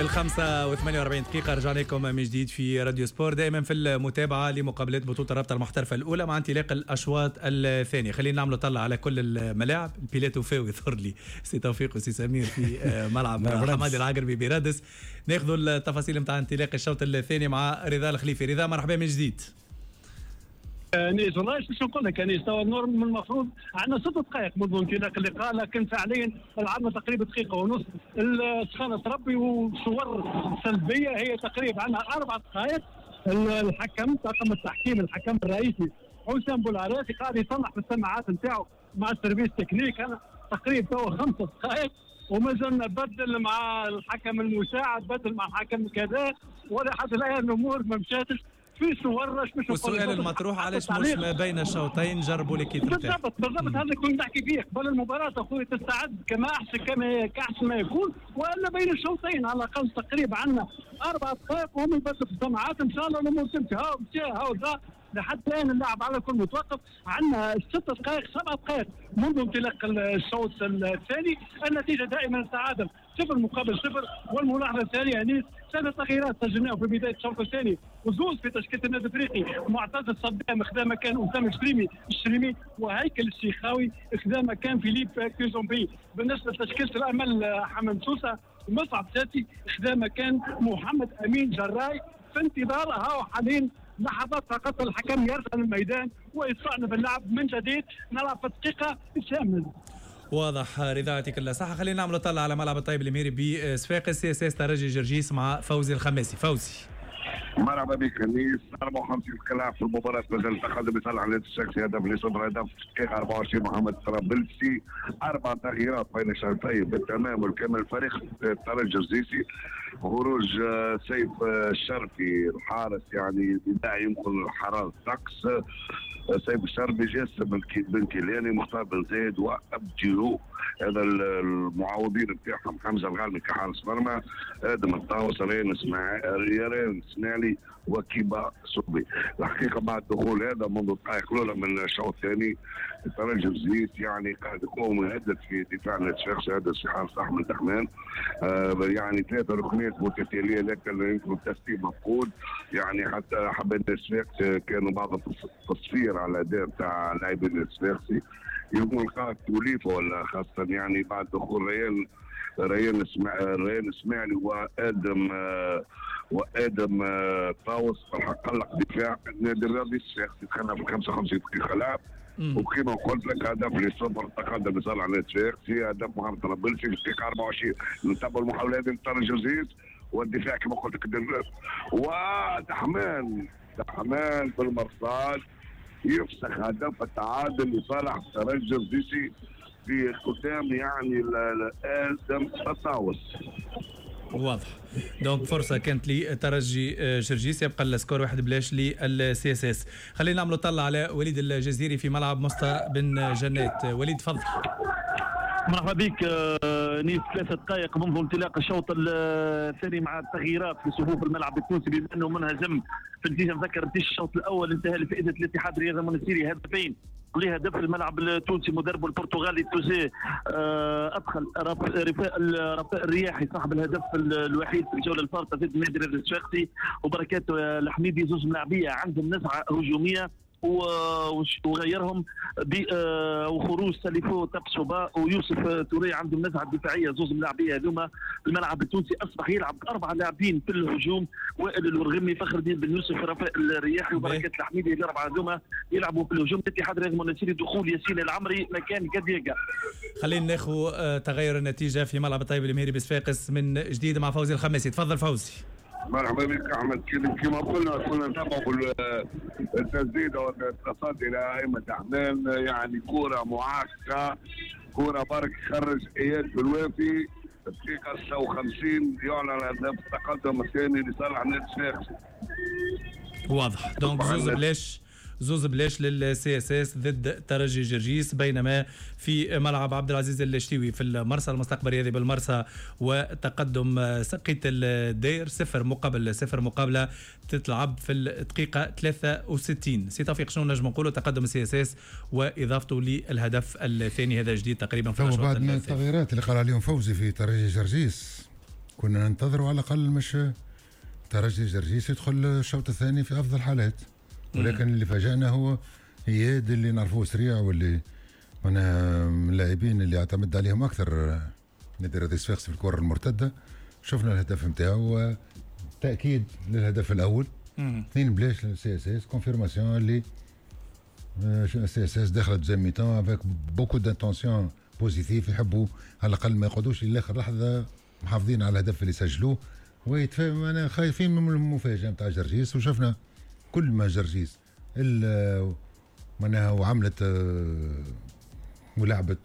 5:48، رجعنا لكم من جديد في راديو سبور، دائما في المتابعة لمقابلات بطولة الرابطة المحترفة الأولى مع انطلاق الأشواط الثانية. خلينا نعملوا طلع على كل الملاعب. البيلات وفاوي يظهر لي سي توفيق وسي سمير في ملعب حمادي العقربي برادس. ناخذ التفاصيل نتاع انطلاق الشوط الثاني مع رضا الخليفي. رضا مرحبا من جديد. انيس والله شو نقول لك انيس، توا من المفروض عندنا 6 دقائق منذ انطلاق اللقاء، لكن فعليا لعبنا تقريبا دقيقة ونص. السخانه تربي وصور سلبية هي تقريبا عندنا 4 دقائق. الحكم، طاقم التحكيم، الحكم الرئيسي حسام بولعراسي قاعد يصلح في السماعات نتاعو مع ال service technique. انا تقريبا توا 5 دقائق وما زلنا بدل مع الحكم المساعد، بدل مع الحكم كذا، ولا حتى الان الامور ما مشاتش في صور. مش والسؤال المطروح علاش مش ما بين الشوطين جربوا l'équipe؟ بالضبط بالضبط، هذا كنت نحكي فيه قبل المباراة اخوي، تستعد كما احسن كما كاحسن ما يكون، والا بين الشوطين على الاقل. تقريبا عندنا 4 دقائق وهم يبدلوا في السماعات، ان شاء الله الامور تمشي. هاو مشى هاو ذا، لحد الان اللعب على كل متوقف. عندنا 6 دقائق، 7 دقائق منذ انطلاق الشوط الثاني. النتيجة دائما التعادل 0 مقابل 0. والملاحظه الثانية يعني ثلاث تغييرات سجلناهم في بداية الشوط الثاني، وزوز في تشكيله النادي الافريقي. معتز الصدام خذا مكان اسامة الشريمي، وهيكل الشيخاوي خذا مكان فيليب كيزومبي. بالنسبة لتشكيله الامل حمام سوسه، مصعب ساتي خذا مكان محمد امين جراي. في انتظار هاو حاليا لحظات فقط الحكم يرجع للميدان ويستأنف اللعب من جديد. نلعب في الدقيقة الثامنه. واضح رضا، يعطيك الصحة. خلينا نعمل طلع على ملعب الطيب المهيري بصفاقس، CSS ترجي جرجيس مع فوزي الخماسي. فوزي. مرحبا بك انيس. 54 دقيقة في المباراة، مازال تقدم لصالح النادي الصفاقسي هدف لصفر، هدف دقيقة 24 محمد طرابلسي. اربع تغييرات بين الشوطين بالتمام والكامل. فريق الترجي الجرجيسي خروج سيف الشرفي الحارس، يعني بداية يمكن حرارة الطقس. سيف الشرفي، جاسم بن كيلاني، مختار بن زايد وابديو، هذا المعوضين بتاعهم حمزة الغالمي كحارس مرمى، ادم الطاوس، ريان اسماعيلي وكيبا صبي. الحقيقة بعد دخول هذا منذ الدقائق الاولى من الشوط الثاني، الترجي الجرجيسي يعني قاعد يقوم يهدد في دفاع النادي الصفاقسي، هذا في حارس احمد دحمان. يعني ثلاثة ركنيات متتاليه، لكن يمكن التسليم مفقود. يعني حتى حبيت الصفاقسي كانوا بعض التصفير على الاداء بتاع لاعبين الصفاقسي، يمكن لقاء توليفة ولا خاصة يعني بعد دخول ريان اسماعيلي وادم طاوس. الحق قلق دفاع النادي الرياضي الصفاقسي. دخلنا في 55 دقيقة لعب، وكما قلت لك هدف لصفر تقدم لصالح النادي الصفاقسي، هدف محمد طرابلسي في الدقيقة 24. نتابع المحاولات للترجي الجرجيسي والدفاع كما قلت لك، ودحمان دحمان بالمرصاد يفسخ هدف التعادل لصالح الترجي الجرجيسي في ختام يعني ادم الطاوس. واضح، donc فرصة كانت لترجي جرجيس، يبقى ال score 1-0 لل CSS. خلينا نعملوا طلع على وليد الجزيري في ملعب مصطفى بن جنات. وليد تفضل. مرحبا بك انيس. 3 دقائق منذ انطلاق الشوط الثاني مع التغييرات في صفوف الملعب التونسي، بما انه منهزم في النتيجه. نذكر نتيجة الشوط الاول انتهى لفائدة الاتحاد الرياضي المونستيري 2 هدف لهدف. الملعب التونسي مدربه البرتغالي توزي ادخل رفاء الرياحي صاحب الهدف الوحيد في الجولة الفارطه ضد النادي الصفاقسي وبركات الحميدي، زوج ملاعبيه عندهم نزعه هجوميه، وغيرهم وخروج ساليفو تابسوبا ويوسف توري عندهم نزعه دفاعيه، زوز ملاعبيه هذوما. الملعب التونسي اصبح يلعب باربع لاعبين في الهجوم: وائل الورغمي، فخر الدين بن يوسف، رفاء الرياحي وبركات الحميدي. الاربعة هذوما يلعبوا في الهجوم. الاتحاد الرياضي المونستيري دخول ياسين العمري مكان كادياغا. خلينا ناخذ تغير النتيجة في ملعب الطيب المهيري بصفاقس من جديد مع فوزي الخماسي. تفضل فوزي. مرحبا بك احمد. كما قلنا كنا نتابعوا التسديده والتصدي لايمن دحمان، يعني كره معاكسه، كره برك خرج اياد بالوافي. دقيقة 56 يعلن هدف التقدم الثاني لصالح نادي الصفاقسي. واضح، donc 2-0، 2-0 لل CSS ضد ترجي جرجيس. بينما في ملعب عبد العزيز الشتيوي في المرسى، المستقبل الرياضي بالمرسى وتقدم سقية الدير 0 مقابل 0، مقابله تتلعب في الدقيقة 63. سي توفيق، شنو نجم نقولوا؟ تقدم ال CSS واضافته للهدف الثاني، هذا جديد تقريبا في بعد من التغييرات اللي قال عليهم فوزي في ترجي جرجيس. كنا ننتظروا على الاقل مش ترجي جرجيس يدخل الشوط الثاني في افضل حالات، ولكن اللي فاجأنا هو اياد اللي نعرفوه سريع واللي انا من اللاعبين اللي اعتمد عليهم اكثر نادي الرياضي الصفاقسي في الكره المرتدة. شفنا الهدف نتاعو، تاكيد للهدف الاول، 2-0 لل CSS، confirmation اللي CSS دخلت deuxième mi-temps avec beaucoup d'intentions positives، يحبوا على الاقل ما يقعدوش لاخر لحظة محافظين على الهدف اللي سجلوه ويتفاهم. انا خايفين من المفاجاة نتاع جرجيس، وشفنا كل ما جرجيس معناها وعملت ولعبت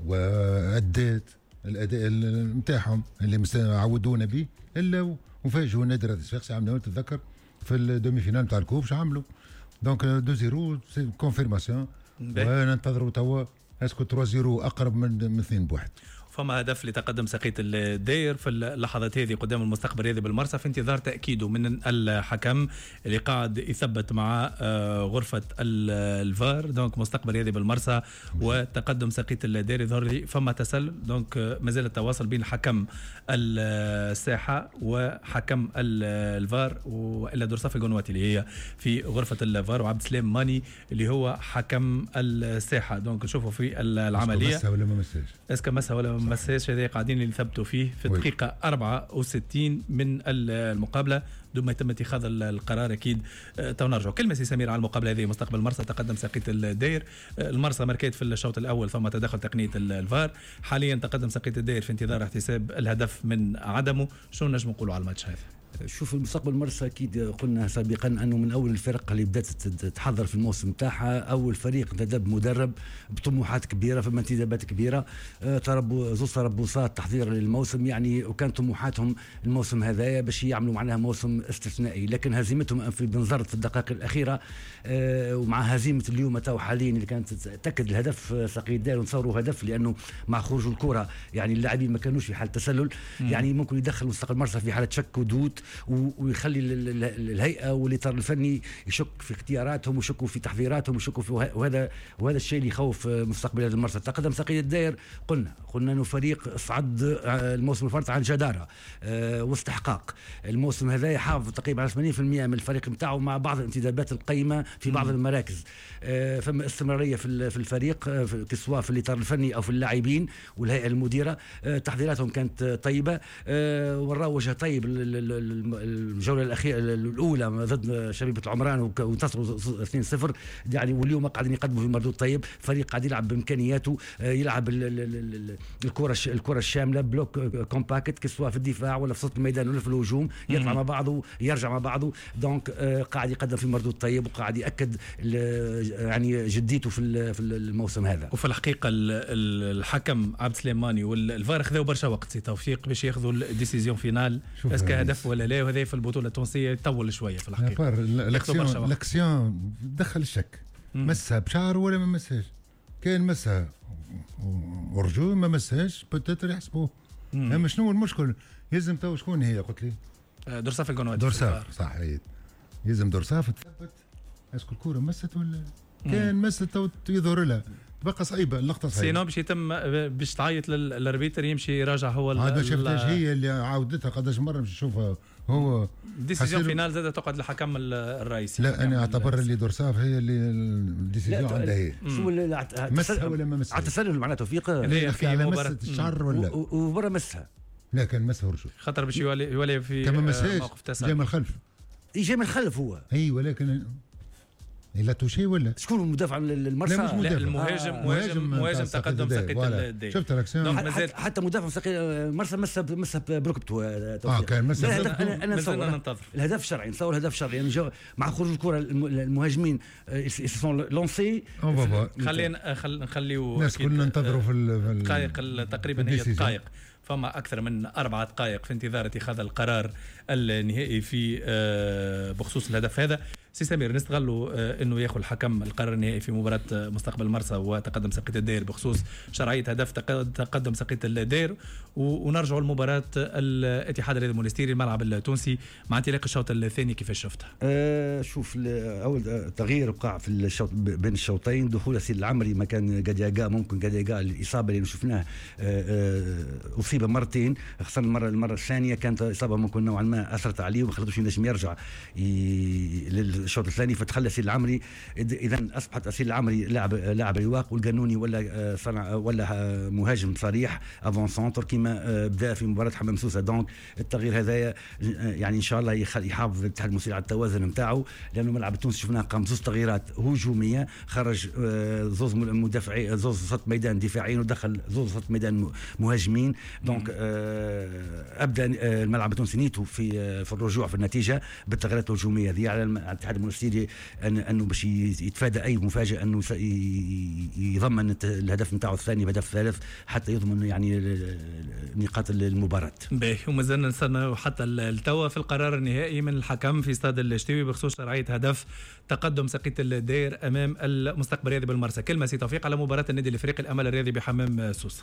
وأدت الاداء نتاعهم اللي عودونا به، الا وفاجئوا النادي الرياضي الصفاقسي. عملوا تتذكر في ال demi-finale نتاع ال coupe شو عملوا، donc 2-0 c'est confirmation، وننتظروا توا est-ce que 3-0 اقرب من 2-1. فما هدف لتقدم ساقية الداير في اللحظات هذه قدام المستقبل الرياضي بالمرسى، في انتظار تأكيده من الحكم اللي قاعد يثبت مع غرفة الفار. donc مستقبل الرياضي بالمرسى وتقدم ساقية الداير، يظهر لي فما تسلل، donc مازال التواصل بين حكم الساحة وحكم الفار، والا درصاف القنواتي اللي هي في غرفة الفار، وعبد السلام ماني اللي هو حكم الساحة. donc نشوفوا في العملية مسها ولا ما مسهاش، est-ce que مسها ولا ما مساش، هذا قاعدين يثبتوا فيه في الدقيقة 64 من المقابلة، دوب ما يتم اتخاذ القرار أكيد تو نرجعوا. كلمة سي سمير على المقابلة هذه، مستقبل المرسى تقدم ساقية الداير، المرسى ماركات في الشوط الأول ثم تدخل تقنية الفار، حاليا تقدم ساقية الداير في انتظار احتساب الهدف من عدمه. شو نجم نقولوا على الماتش هذا؟ شوف المستقبل المرسى اكيد قلنا سابقا انه من اول الفرق اللي بدات تحضر في الموسم تاعها، اول فريق انتدب مدرب بطموحات كبيرة، فما انتدابات كبيرة، زوج تربصات تحضير للموسم يعني، وكان طموحاتهم الموسم هذايا باش يعملوا معناها موسم استثنائي، لكن هزيمتهم في بنزرت في الدقائق الاخيرة ومع هزيمة اليوم تو حاليا اللي كانت تاكد الهدف ساقية الداير، ونصوروا هدف لانه مع خروج الكره يعني اللاعبين ما كانوش في حاله تسلل، يعني ممكن يدخل مستقبل المرسى في حاله شك ودود، ويخلي الهيئة والاطار الفني يشك في اختياراتهم ويشكوا في تحضيراتهم ويشكوا في وهذا الشيء اللي يخوف مستقبل هذا المرسى. تقدم ساقية الداير، قلنا انه فريق صعد الموسم الفارط عن جداره واستحقاق، الموسم هذا يحافظ تقريبا على 80% من الفريق نتاعو مع بعض الانتدابات القيمة في بعض المراكز، فما استمرارية في الفريق سواء في الاطار الفني او في اللاعبين والهيئة المديرة، تحضيراتهم كانت طيبة، وراو وجه طيب الجولة الاخيرة الاولى ضد شبيبة العمران وانتصروا 2-0 يعني، واليوم قاعدين يقدموا في مردود طيب، فريق قاعد يلعب بامكانياته، يلعب الكره الشاملة، bloc compact سواء في الدفاع ولا في وسط الميدان ولا في الهجوم، يطلع مع بعضه يرجع مع بعضه، donc قاعد يقدم في مردود طيب وقاعد ياكد يعني جديته في الموسم هذا. وفي الحقيقة الحكم عبد السلام ماني والفار خذوا برشا وقت سي توفيق باش ياخذوا ال décision finale est-ce que هدف ولا لا، وهذا في البطولة التونسية يطول شوية في الحقيقة. l'action دخل الشك، مسها بشعر ولا ما مسهاش، كان مسها hors-jeu ما مسهاش peut-être يحسبوه. اما شنو المشكل؟ يلزم تو شكون هي قلت لي؟ درصاف القنواتي. درصاف صح، يلزم درصاف تثبت est-ce que الكورة مست ولا كان مست تو يظهر لها، تبقى صعيبة اللقطة صعيبة. sinon باش يتم باش تعيط لل arbitre يمشي يراجع هو. عاد ما شفتهاش هي اللي عاودتها قداش مرة باش نشوفها هو. décision finale زاد تقعد للحكم الرئيسي. لا انا اعتبر اللي درصاف هي اللي ال décision عندها هي. شو مسها ولا ما مسها؟ على التسلل معناته توفيق في مباراة الشعر ولا وبرا مسها. لا كان مسها hors-jeu. خاطر باش يولي في موقف تسلل. جاي من الخلف. جاي من الخلف هو. اي ولكن il a touché ولا شكون المدافع المرسى؟ لا مش مدافع. لا المهاجم مهاجم تقدم ساقية الداير. شفت الاكسيون حتى مدافع ساقية المرسى مسها بركبته. كان مسها. انا نتصور الهدف شرعي، نتصور الهدف شرعي يعني مع خروج الكره المهاجمين sont lancés. خلينا نخليو الناس كلنا ننتظروا في الدقائق تقريبا، هي دقائق، فما أكثر من 4 دقائق في انتظار اتخاذ القرار النهائي في بخصوص الهدف هذا. سي سمير، نستغلوا انه ياخذ الحكم القرار النهائي في مباراة مستقبل مرسى وتقدم سقية الدير بخصوص شرعية هدف تقدم سقية الدير، ونرجعوا لمباراة الاتحاد الرياضي المونستيري، الملعب التونسي، مع انطلاق الشوط الثاني، كيفاش شفتها؟ شوف، اول تغيير وقع في الشوط بين الشوطين، دخول ياسين العمري مكان جادياغا. ممكن جادياغا الاصابة اللي شفناه اصيب مرتين، خاصة المره الثانية كانت اصابه ممكن نوعا ما اثرت عليه وما خلتوش ينجم يرجع للشوط الثاني، فدخل ياسين العمري. اذا اصبحت ياسين العمري لاعب رواق، والقانوني ولا صنع ولا مهاجم صريح avant-centre كما بدا في مباراة حمام سوسه. donc التغيير هذايا يعني ان شاء الله يحافظ الاتحاد المونستيري على التوازن نتاعو، لانه الملعب التونسي شفناه قام زوز تغييرات هجوميه، خرج زوز مدافعين، زوز وسط ميدان دفاعيين، ودخل زوز وسط ميدان مهاجمين. donc ابدا الملعب التونسي نيته في الرجوع في النتيجة بالتغييرات الهجومية هذه. على الاتحاد المونستيري انه باش يتفادى اي مفاجاه، انه يضمن الهدف نتاعو الثاني بهدف ثالث حتى يضمن يعني نقاط المباراه. باهي، ومازلنا نستنى حتى التوا في القرار النهائي من الحكم في استاد الشتيوي بخصوص شرعية هدف تقدم سقية الدير امام المستقبل الرياضي بالمرسى. كلمة سي توفيق على مباراة النادي الافريقي الامل الرياضي بحمام سوسه.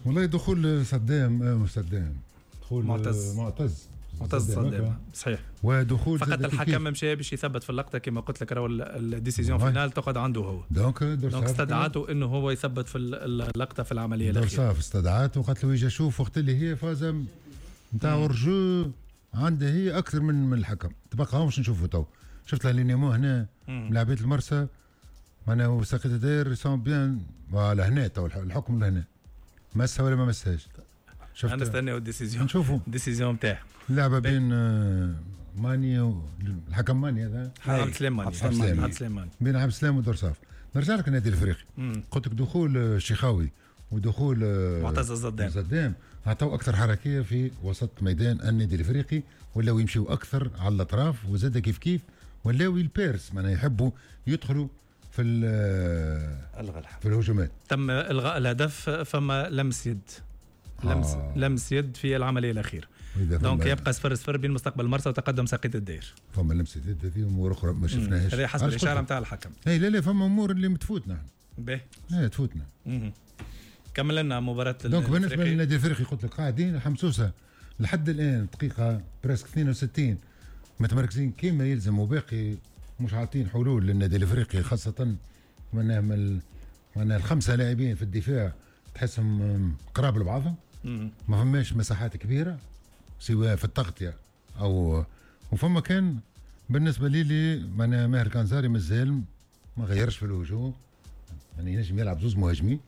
والله دخول صدام صدام، دخول معتز. معتز. معتز صدام، صحيح. ودخول فقط الحكم مشى باش يثبت في اللقطه، كما قلت لك راهو ال décision finale تقعد عنده هو. donc donc استدعاته انه هو يثبت في اللقطة في العملية الاخيرة. درصاف استدعاته وقالت له يجي شوف، وقت اللي هي فازة نتاع hors-jeu عندها هي اكثر من الحكم. تبقى باش نشوفوا تو، شفت l'alignement هنا، ملاعبيه المرسى معناها وساقية الدير sont bien. voilà، هنا تو الحكم لهنا، مسها ولا ما مسهاش؟ شفت، نستناو ال décision. نشوفوا ال décision نتاعه. اللعبة بين ماني الحكم ماني هذا. عبد السلام ماني. عبد السلام ماني، بين عبد السلام ودرصاف. نرجع لك النادي الافريقي، قلت لك دخول الشيخاوي ودخول معتز الزدام. الزدام عطوا اكثر حركية في وسط ميدان النادي الافريقي، ولاو يمشيوا اكثر على الاطراف، وزاد كيف كيف ولاو ils percent، معناها يحبوا يدخلوا في الهجمات. تم الغاء الهدف، فما لمس يد، لمس لمس يد في العملية الاخيره، donc يبقى 0-0 بين مستقبل المرسى وتقدم ساقية الدير. فما لمسه يد، هذه امور اخرى ما شفناهاش. هذه حسب الاشارة نتاع الحكم. اي لا لا، فما امور اللي متفوتنا. باهي. ايه، تفوتنا. كمل لنا مباراة. donc بالنسبة للنادي الافريقي قلت لك قاعدين حمسوسه لحد الان دقيقة presque 62 متمركزين كما يلزم، وباقي مش عاطين حلول للنادي الافريقي، خاصة معناها الخمسة لاعبين في الدفاع تحسهم قراب لبعضهم، ما فماش مساحات كبيرة سواء في التغطية او وفما كان بالنسبة لي معناها ماهر كانزاري مازال ما غيرش في الهجوم، يعني ينجم يلعب زوز مهاجمين.